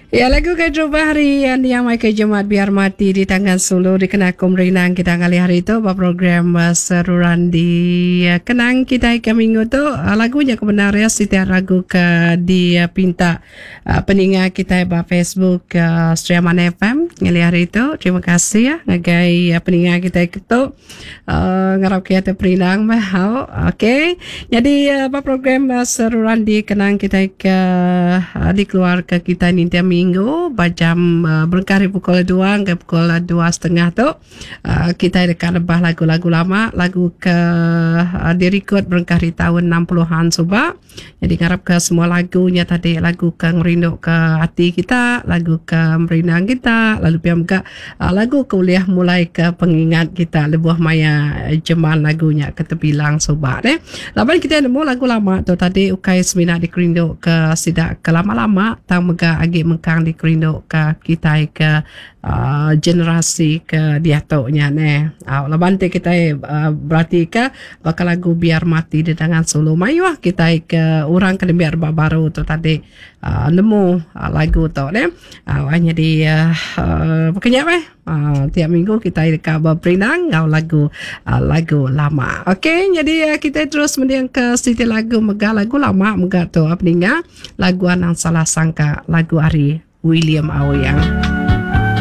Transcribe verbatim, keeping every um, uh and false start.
Ya, lagu ke terubah hari yang Michael Jemat, Biar Mati di Tangan Sulu, dikena aku merindang kita ngalih hari tu ba program uh, Seruran di uh, Kenang kita ke minggu tu. Uh, lagunya kebenar ya setiap lagu ke dipinta uh, peninga kita ba Facebook uh, Sri Aman F M ngalih hari tu. Terima kasih ya ngagai uh, peninga kita tu. Uh, ngarap kita perindang bah. Okey. Jadi uh, ba program uh, Seruran di Kenang kita ke uh, dikeluar ke kita ni tiap minggu jam uh, berengkah dari pukul dua ke pukul dua setengah tu, uh, kita dekat lebah lagu-lagu lama, lagu ke uh, direkod berengkah di tahun enam puluhan suba. Jadi ngarap ke semua lagunya tadi lagu ke ngerindu ke hati kita, lagu ke merindang kita, lalu pia juga uh, lagu ke ulih mulai ke pengingat kita lebuh maya jeman lagunya ke tebilang suba deh. Laban kita nemu lagu lama tu tadi ukai semina dikerindu ke sidak ke lama-lama, tang mega agi mengkang dikerindu ke kita ke uh, generasi ke diatu nya ne. Uh, laban ti kita uh, berarti ke bakal lagu Biar Mati di Tangan Sulu, mayuh kita ke orang ke biar baru tu tadi uh, nemu uh, lagu tu ne. Uh, jadi uh, uh, pokoknya meh uh, tiap minggu kita dekat berperindang ngau lagu uh, lagu lama. Okey, jadi uh, kita terus mending ke siti lagu mega, lagu lama mega tu apa, ninga lagu Anang Salah Sangka, lagu ari William Aoyang.